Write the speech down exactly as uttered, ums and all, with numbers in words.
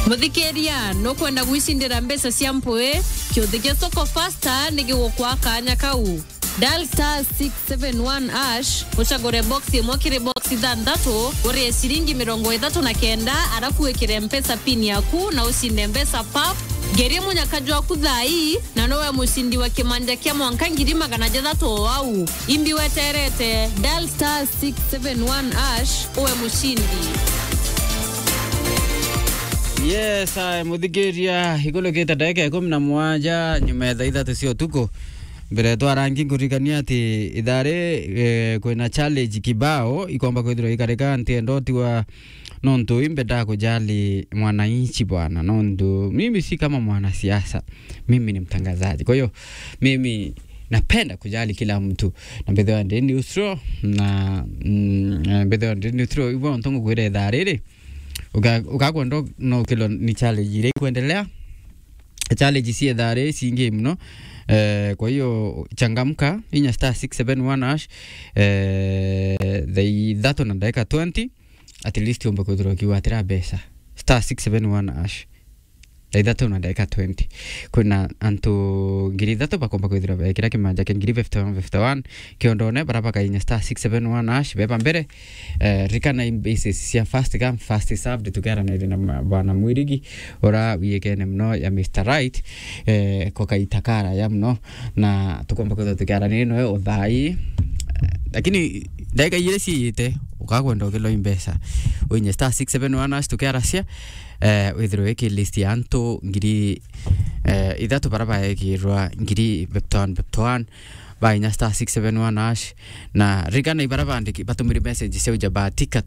Muthikiria, nukwenda gwicindira mbeca cia mpui? Kiuthi gia Soko Fasta ni gigukwa kanya kau. Dial star six seven one hash, ucagure box imwe kiri box ithanthatu, urie ciringi mirongo ithatu na kenda, arafu wikire Mpesa pin yaku na ucinde mbeca pap. Ngerie munyaka jwaku thaa ii, na nowe mucindi wa kimanja kia mwanka ngiri magana jathatu o au. Imbi weterete, dial star six seven one hash, uwe mucindi. Yes, I, muthikiria, ikulukite ndagika ikumi na mugwanja nyuma ya thaa ithatu cia utuku. Mbere twarangi nkuririkania ati ithaa ri, eh, kwina challenge kibao ikomba kwithirwa ikarika ntienda utiwa nontu imbe ndakujali mwananchi bwana, nontu mimi si kama mwanasiasa, mimi ni mtangazaji. Kwa hiyo mimi napenda kujali kila mtu. Na mbethwa ndi neutral, na, mm, eh, mbethwa ndi neutral, hivyo ntongo kwira ithaa riri. Uka-, ukakwenda no kilo ni challenge iria ikwendelea. Challenge cia ithaa riri cingi muno. Eh, kwa hiyo changamka, inya star six seven one hash, eh, thaa ithatu na ndagika twenty, at least umbe kwithirwa ukiwatira mbeca. Star six seven one hash. Thaa ithatu na ndagika twenty. Kwina antu ngiri ithatu bakomba kwithirwa bekira kimanja kia ngiri fifty one fifty one kiondone, bara bakainya star six seven one hash, beba mbere. Eh, rikana in basis cia first come, first served, tukiaranire na ma-, bwana Mwirigi, ura wiyikene muno ya Mister Right, eh, ko kaita karaya muno, na tukomba kwithirwa tukiaranire noe o thaa ii. Eh, lakini ndagika igiri ciite, ukakwenda ukiloi mbeca, winye star six seven one hash tukiaracia, eh, withirwe wiki list ya antu ngiri, eh, ithatu bara baekirwa ngiri fifty one fifty one, bainya star six seven one hash, na rikana ibara bandiki, batumire message cia uja batika